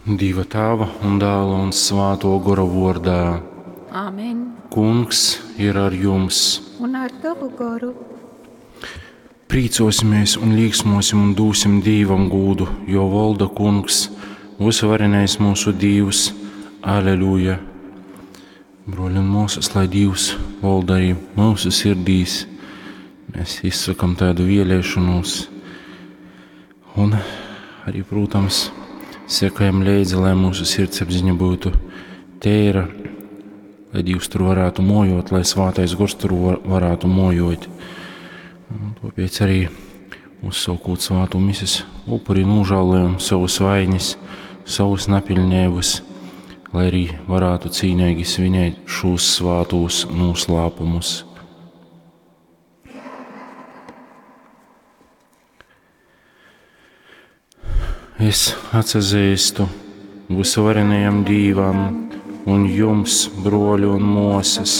Dīva Tāva un Dāla un Svātō Gora vōrdā. Amen. Kungs ir ar jums. Un ar tavu goru. Prīcōsimies un līksmosim un dūsim Dīvam gūdu, jo volda Kungs, vysuvarenais mūsu Dīvs. Aleluja! Broļi un māsas, lai Dīvs volda arī mūsu sirdīs, mēs izsakam tādu vēlēšanos. Un arī, protams, sekojam līdzi, lai mūsu sirdsapziņa būtu tīra, lai Dievs tur varētu mojot, lai Svātais Gors tur varētu mojot. Un tāpēc arī uzsaukot svātu mises upuri nožēlojam savus vainas, savus napilnības, lai arī varētu cīnīgi svinēt šos svātos noslēpumus. Es atsazīstu visuvarenajam Dīvam un jums, broļi un mosas,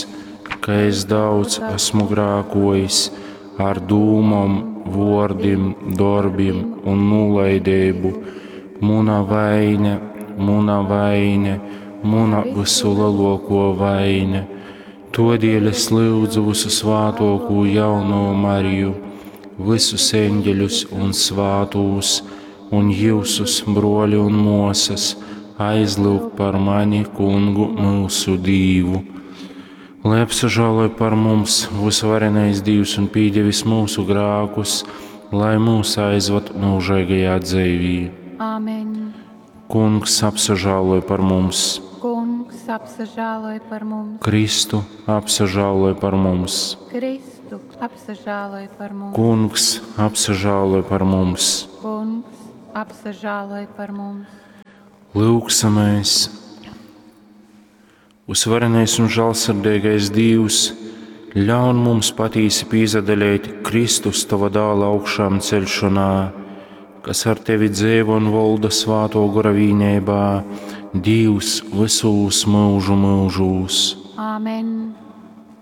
ka es daudz esmu grākojis ar dūmom, vordim, darbiem un nolaidību. Muna vaine, muna vaine, muna visu lielāko vaine. Todēļ es lūdzu visu svātoko jauno Mariju, visus eņģeļus un svātūs, un jūsus, broļi un mosas, aizlūgt par mani, kungu mūsu Dīvu. Lai apsažāloj par mums visvarenais Dīvs un pīdevis mūsu grākus, lai mūs aizvad mūžīgajā dzīvī. Amen. Kungs apsažāloj par mums, Kungs apsažāloj par mums. Kristu apsažāloj par mums, Kristu apsažāloj par mums. Kungs apsažāloj par mums. Kungs apsažāloj par mums. Lūksamies! Uzvarenais un žēlsirdīgais Dievs, ļaun mums patīsi pīzadalēt Kristus tava dāla augšām celšanā, kas ar tevi dzīvo un valda svāto gora vīnībā, Dievs visūs mūžu mūžūs. Amen.